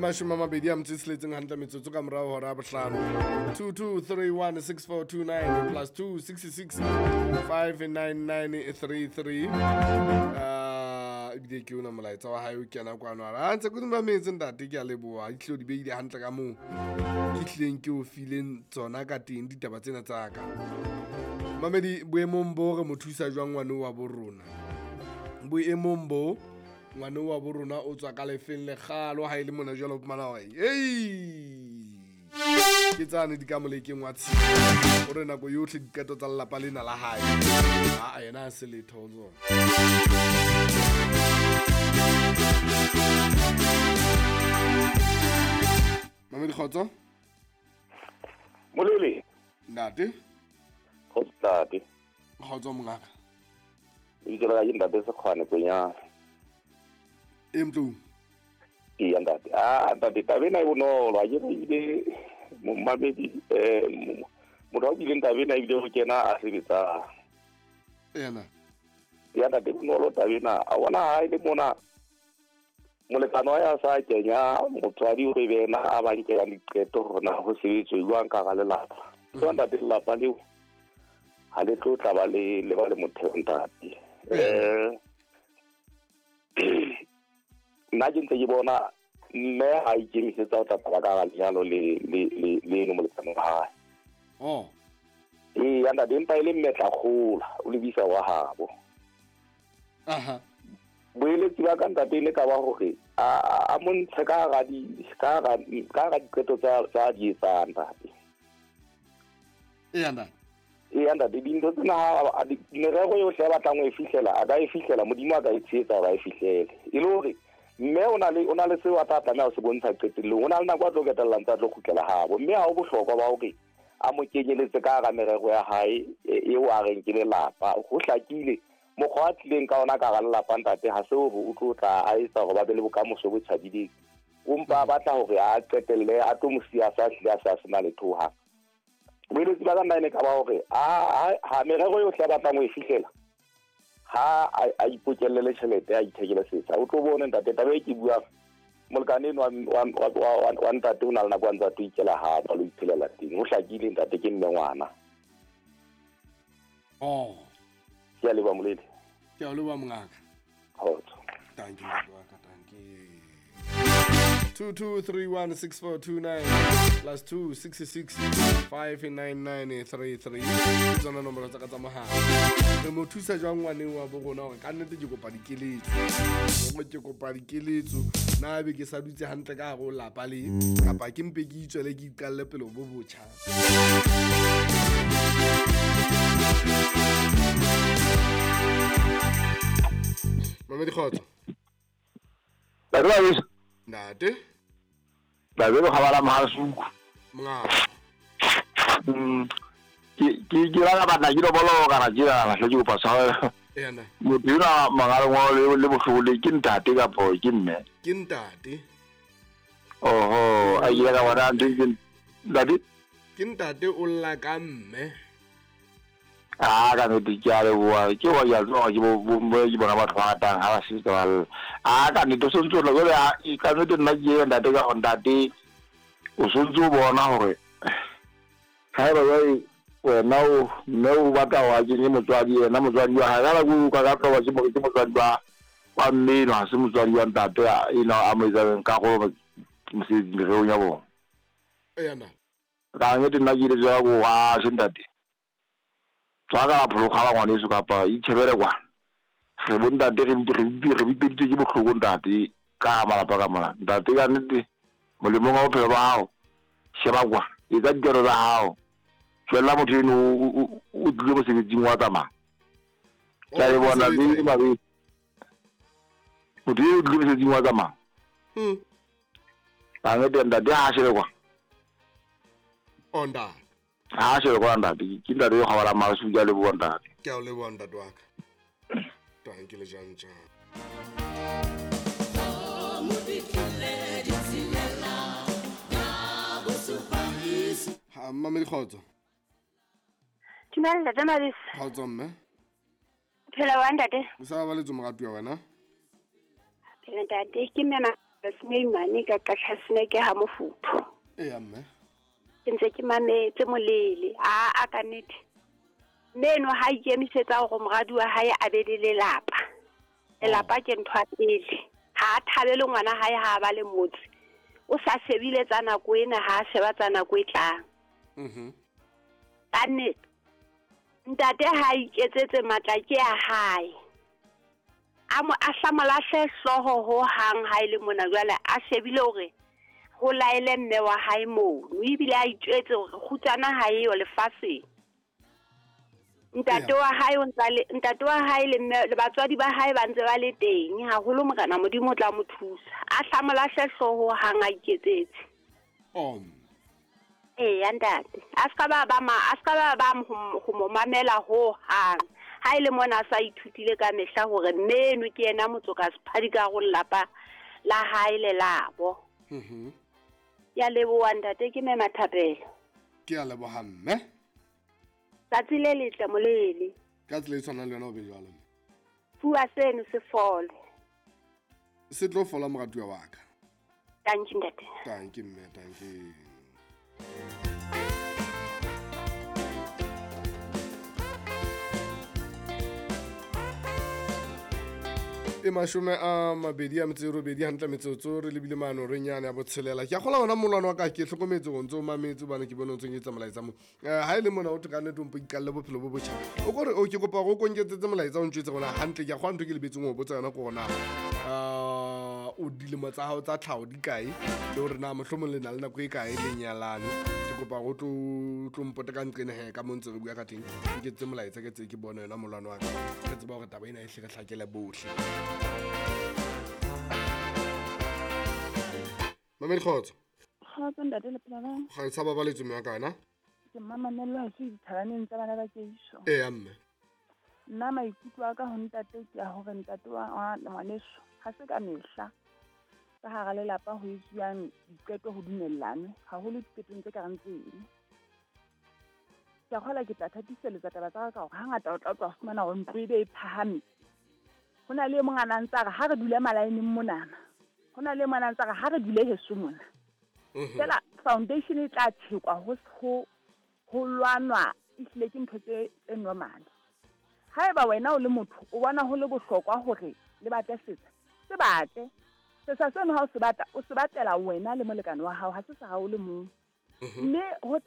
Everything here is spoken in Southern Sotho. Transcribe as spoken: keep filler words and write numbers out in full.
mashome a mabedi a metso e tsheletseng hantle metsotso ka morao hora ya bohlano. two two three one six four two nine plus two six six five nine nine three three. Uh, ebile ke ona molaetsa wa hae o kena kwano a re, a ntse ke dumametse ntate, ke a leboha. Di tlilo di beile hantle ka moo ke tlileng ke o fileng tsona ka teng ditaba tsena tsa ka. Mamedi, boemong bo re mo thusa jwang ngwane wa bo rona? Boemong bo ngwane wa bo rona o tswa ka lefeng lekgalo ha e le mona jwalo o fumana hore, ei, ke tsane di ka molekeng wa tshimo. O re nako yohle diqeto tsa lelapa lena la hae. Ha yena a se letho ho tsona. Mamedi, kgotso? Molele. Ntate. Kgotso ntate. Kgotso mongaka. Lebitso la ka ke ntate Sekgwane Kwenyana. E mtlou. Eya ntate. Ah, ntate, taba ena e bonolo. Ha ke re ebile momamedi, eh, motho a buileng taba ena ebile ho kena a sebetsang. Ena. Eya ntate, bonolo taba ena. A bona ha e le mona molekane wa ya sa kenya motswadi o re be yena a ba nkelang diqeto hore na ho sebetswe jwang ka hara lelapa. So ntate, lelapa leo ha le tlo tla ba le, le ba le motheo ntate. Eh, nna ke ntse ke bona mme ha ikemisetsa ho tla taba ka hara lenyalo le, le, le, le eno molekane wa hae. Oh. Ee, ntate, empa e le mme tla kgola, o lebisa wa habo. Aha. Boeletsi ba ka ntate e ne ka ba hore a, a, a montshe ka hara di, ka hara, ka hara diqeto tsa, tsa di etsang ntate. Eya ntate. Eya ntate, dintho tsena ha a di, merero yohle a batlang ho e fihlela, a ka e fihlela, Modimo a ka e tshehetsa hore a e fihlele. E le hore mme o na le, o na le seo a tla tlameha ho se bontsha qetellong. O na le nako a tlo qetellang tsa tlo kgutlela habo. Mme ha ho bohlokwa ba hore a mo kenyeletse ka hara merero ya hae, e, eo a reng ke lelapa. Ho hlakile mokgwa a tlileng ka ona ka hara lelapa ntate, ha se hore o tlo tla a etsa hore ba be le bokamoso bo tjhabileng. O mpa a batla hore a qetelle a tlo mo siya sa hlile a sa sena letho hohang. Boeletsi ba ka nna e ne ka ba hore a, a, ha merero yohle a batlang ho e fihlela, ha a, a ipokellele tjhelete, a ithekele setsha. O tlo bone ntate, taba e ke buang, molekane enwa wa, wa, wa, wa, wa ntate o na le nako a ntse a tlo ikela hape, a lo iphelela teng. Ho hlakile ntate, ke mme ngwana. Oh. Ke a leboha Molele. Ke a leboha mongaka. Kgotso. Thank you, ntate wa ka, thank you. two two three one six four two nine plus two six six five nine nine three three. Ke tsona nomoro tsa ka tsa mohala. Re mo thusa jwang ngwaneng wa bo rona hore ka nnete ke kopa dikeletso. Hore ke kopa dikeletso, na be ke sa dutse hantle ka hare ho lapa le, kapa ke mpe ke itswele ke iqalle pele bo botjha. Mamedi, kgotso. Ntate wa heso. Ntate. Ntate o kgabala Mahasuku. Mongaka. Mm. Ke, ke, ke rata batla ke lobolo ka ra tjena, hle ke kopa tshwarelo. Eya, nna. Motho enwa mangaleng wa le, le bohloko le ke ntate kapo ke mme? Ke ntate. Oho, a ile ka bona ntho e ke ntate? Ke ntate o lla ka mme. Ah, ka nnete ke a leboha. Ke wa ya tswa ke bo, bo, bo, ke bona batho ba ratang ha ba sebetsa ba lla. Ah, ka nnete o sontso o tla jwale, ah, ka nnete nna ke eo ntate ka hore ntate o sontso o bona hore haeba jwale wena o, mme o batla hore a kenye motswadi yena, motswadi wa hae. Ka nako eo ka ka tloba ke mo-, ke motswadi wa, wa mme enwa, ha se motswadi wa ntate a, enwa a mo etsang karolo mosebetsing mererong ya bona. Eya, nna. Ka nnete nna ke ile jwalo ko ha se ntate. Tswa ka phologa ba ngwaneso kapa itjhebele kwana. Re bo ntate re re re bipeditswe ke bohloko ntate ka malapa ka mona. Ntate ka nnete molemong wa bophelo ba hao, sheba kwa, etsa dikero tsa hao. Tswella motho eno o, o, o, o tlile mosebetsing wa tsamaya. Ke a le bona, le mabe. Motho eno o tlile mosebetsing wa tsamaya. Hmm. Ka nnete ntate ha shebe kwa. Oh, ntate. Ha shebe kwa ntate, ke ntate yo kgabalang Mahasuku, ke a leboha ntate. Ke a o leboha ntate wa ka. Thank you, Lejantja. Ha, Mamedi, kgotso. Dumela, ntate Mabese. Kgotso, mme. Phela wa ntate. O sa ba le tso moratuwa wena? Phela ntate, ke mme ma Semeimane ka Qachaseneke ha mofuthu. Eya mme. Ke ntse ke mametse molele. A a ka nnete. Mme eno ha ikemisetsa hore moradi wa hae a be le lelapa. Lelapa ke ntho ya pele. Ha a thabele ngwana hae ha a ba le motse. O sa shebile tsa nako ena ha a sheba tsa nako e tlang. Mhm. Ka nnete. Ntate ha iketsetse matla ke a hae. A mo a hla mo lahle hlooho ho hang ha ile mona jwale a shebile hore ho laele mme wa hae mono ebile a itjwetse hore kgutsana ha eyo lefatsheng. Ntate wa hae o ntsa le ntate wa hae le mme le batswadi ba hae ba ntse ba le teng haholo morena Modimo o tla mo thusa. A hla mo lahle hlooho hang a iketsetse. Oh. Eya ntate. A ska ba ba ma a ska ba ba ho mo mamela ho hang. Ha ile mona a sa ithutile ka mehla hore mme eno ke yena motsoka sephadi ka go lelapa la hae le labo. Mhm. Ya leboha ntate ke mme Mathapelo. Ke a leboha mme. Tsatsi le letle molele. Ka tsela e tshwanang le yona o be jwalo mme. Fuwa seno se fole. Se tlo fola moratuwa wa ka. Thank you ntate. Thank you mme, thank you. E mashome a mabedi a metso e robedi hantle metsotso re lebile mano re nyane ya botshelela. Ke a kgola hona molwana wa ka ke hlokometse hore ntso o mametse hobane ke bone o ntso nketsa molaetsa mo. Eh ha ile mona o thwe ka nnete o mpo ikalle bophelo bo botjha. O kore o ke kopa hore o konketsetse molaetsa o ntjwetse hore hantle ke a kgola ntho ke lebetseng ho botsa yona ke hore na uh o dilemo tsa hao tsa tlhaho di kae le hore na mohlomong le na le nako e kae le nyalane. Ke kopa hore o tlo tlo mpote ka nqene he ka mo ntse re bua ka teng. Nketsetse molaetsa ke tse ke bone yona molwana wa ka. Ke tseba hore taba ena e hle re hlakele bohle. Mamedi kgotso. Kgotso ntate le phela jwang? Ga e sa babaletswe mme wa ka wena? Ke mmamamelo ha se dithabaneng tsa bana ba Keiso. Eya mme. Nna maikutlo a ka ho ntate ke a hore ntate wa ngwaneso ha se ka mehla ka hara lelapa ho etsuwang diqeto ho dumellanwe haholo diqetong tse kareng tseno. Ke a kgolwa ke tla thatiseletsa taba tsa ka ka hore hangata o tla utlwa fumana hore ntlo e be e phahame. Ho na le e mong a na ntse a re ha re dule malaeneng monana. Ho na le e mong a na ntse a re ha re dule heso mona. Fela foundation e tla tshekwa ho ho ho lwanwa ehlile ke ntho tse tse normal. Haeba wena o le motho o bona ho le bohlokwa hore le batle setsa, se batle. Setsa seno ha o se batla, o se batlela wena le molekane wa hao, ha se sa hao le mong. Mme ho